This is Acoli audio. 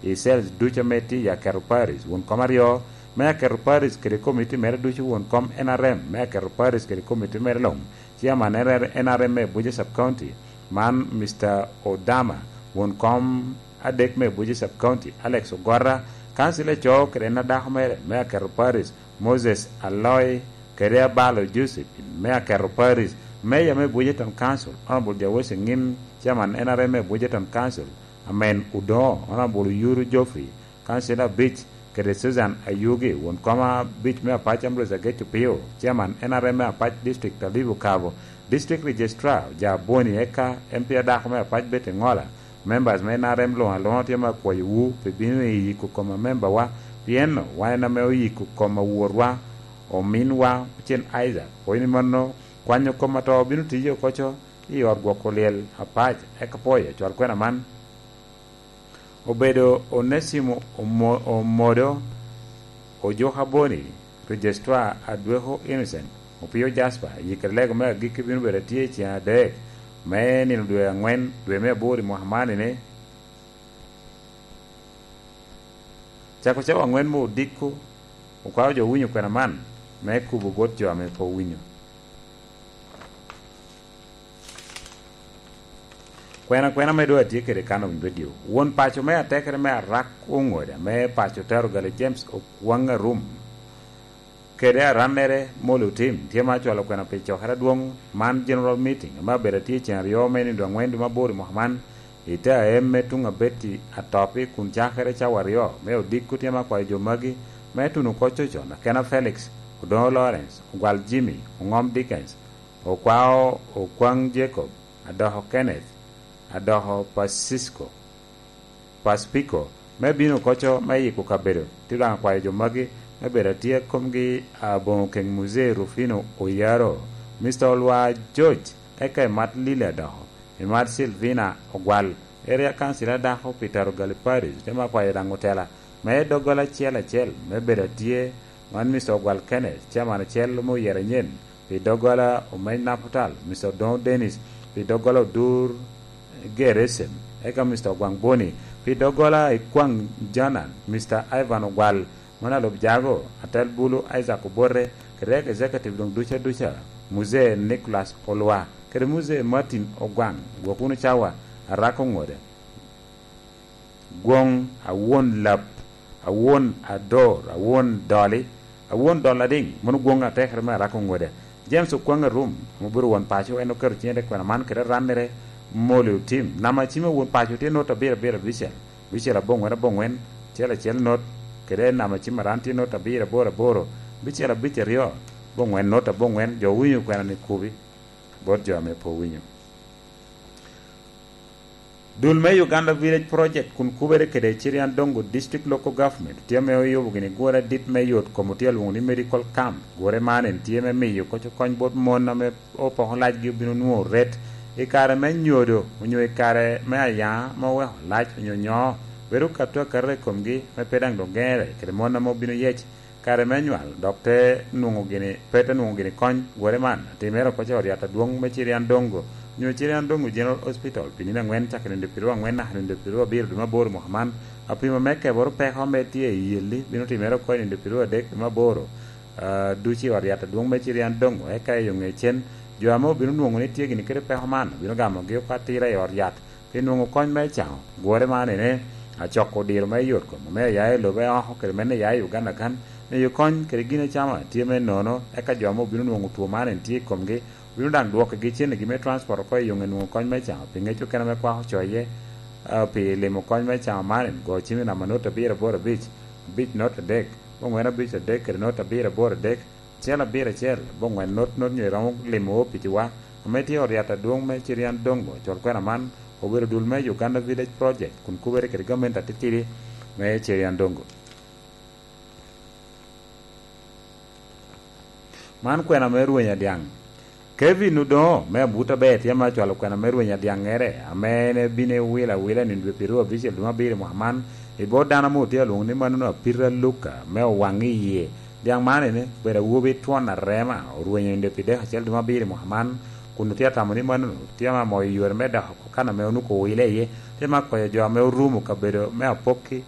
I cells ducu ame tye i Aketo Parish, won kom aryo me Aketo Parish kede komiti mere ducu, won kom NRM me Aketo Parish kede komiti mere long, Chairman NRM me Buja Sub-County, man Mister Odama, won kom adek me Buja Sub-County, Alex Ogora, Kancila eco kede en adako mere me Aketo Parish, Moses Aloy kede Abalo Josephine me Aketo Parish, Mayor me Buja Town Council, Honourable Jawese Ngim, Chairman NRM me Buja Town Council, Amen Odongo, Honourable Oyuru Geoffrey, Kancila abic, kede Susan Ayugi, won kom abic me Apac Ambrose Ageco Pio, Chairman NRM me Apac District Alibu Kabo, District Registrar Oja Boni eka MP adako me Apac Betty Ngola, Members me NRM lung alunga tye ma kwoyo wu pi bino i yiko kom amemba wa pien wan en ame oyiko kom awor wa omin wa Ocen Isaac oini mano kwanyo kom ato bino tiyo okoco i ot gwoko lyel Apac eka poyo cwal kwena man obedo Onesimo Omodo Ojuka Boni Registrar Adweko Innocent Opiyo Jasper yikere lego me agikki bino bedo atye i ceng adek me nino dwe angwen dwe me aboro i mwaka man eni. Cako cawa angwen me odiko okwayo jo owinyo kwena man me kubo bot jo ame pe owinyo. Kwena kwena me dong atye kwede kan owiny radio. Won paco me atekere me arak ongoda me paco tero gali James Okwang Arum kede aranere Molly Otim tye ma acwalo kwena pi cokere adwong man General Meeting ma obedo atye ceng aryo me nindo angwen dwe maboro i mwaka man i te aem me tung abeti atopi kun cakere cawa aryo me odiko tye ma kwayo jo magi me tuno kor cocon Akena Felix, Odongo Lawrence, Ogwal Jimmy, Ongom Dickens, Okwao Okwang Jacob, Adoko Kenneth, Adoko Pacisco, Paspiko, me bino koco me yiko kabedo. Tye dong akwayo jo magi me bedo atye komgi a bongo keng Muzee Rufino Oyaro, Mister Olwar George eka Emat Lily Adoko, Emat Silvina Ogwal, Area Councilor Dako Peter Ogali Parish tye ma akwayo dango tela me dogola acel acel me bedo atye man Mister Ogwal Kenneth, Chairman acel me oyero anyen pi doggola Omeny Naputal, Mister Odongo Dennis pi doggola Odur Gerecem, eka Mister Ogwang Boni pi doggola Ikwang Janan, Mister Ivan Ogwal, man alub Jago, Atel Bulu Isaac Obote, kede Executive dong ducu aduca, Muzee Nicholas Olwa, kede Muzee Martin Ogwang, gwok wunu cawa, Arako Ngode, Gwong, Awon Lap, Awon Ador, Awon Doli, Awon Dol Ading, mono gwong atekere me Arako Ngode, James Okwang Arum, ma obedo won paco, en oketo cinge te kwena man kede rannere Molly Otim. Namba cime won paco tye not abiro abiro abicel, bicel abongwen abongwen, acel acel not, kede namba cim aran tye not abiro aboro aboro, bicel abic aryo, bongwen not abongwen. Jo owinyo kwena ni kubi bot jo ame pe owinyo. Dul me Uganda Village Project kun kubere kede Icirian Dongo District Local Government tye me oyubo gini gure dit me yot kom otye alwongo ni Medical Camp. Gure man en tye me miyo koco kony bot mon ame opoko lac gi obino nwo ret i kare me nyodo onyo i kare me ayanga ma oweko lac onyo nyoo bedo kato akata i kom gi me pe dang dong gengere kede mon ame obino yec Kare me nywal dok te nongo gini pe te nongo gini kony. Gure man atimere oko ca oryat adwong me Cirian Dongo nyo Cirian Dongo General Hospital pi nino angwen cake nindo piru angwen naka nindo piru abiro dwe maboro mwaka man. Apima me keboro peko me tye i yelli bino timere oko i nindo piru adek dwe maboro ducu i ot yat adwong me Cirian Dongo eka i yo nge cen jo ame obino nongo ni tye gini kede peko man obino gamo gi oko atira i ot yat Pi nongo kony me cango gure man ene, acoko diro me yot kom me aya i lobe oko kede mene ya i Uganda kan, miyo kony kede gin acama tye me nono eka jo ma obino nongo two man en tye i komgi obino dang dwoki gi cene gi me transport oko i yonge nongo kony me cango pi ngec okene me kwako coye pi limo kony me cango man en go cim i namba not abiro aboro abic abic not adek bongwen abic adek kede not abiro aboro adek acel abiro acel bongwen not not nyo iromo limo opici wa Ame tye ot yat adwong me Cirian Dongo col kwena man obedo dul me Uganda Village Project kun kubere kede gamente atitidi me Cirian Dongo. Man kwena me rwenya dyang. Kevin Odongo me Abuta Ber tye ma ocwalo kwena me rwenya dyang ere ame en ebino ewilo awila i nino dwe pyeraryo abicel dwe me abiro i mwaka man i bot dano mo tye alwongo ni Manuno Apita Luka me owang iye Dyang man eni obedo awobi twon arema, orwenyo i pi dek acel dwe ma abiro i mwaka man, kun tye atamo ni mano tye ma moyo yore me doko kana me onuko owile iye, tye ma koyo jo ame orumo kabedo me apokki.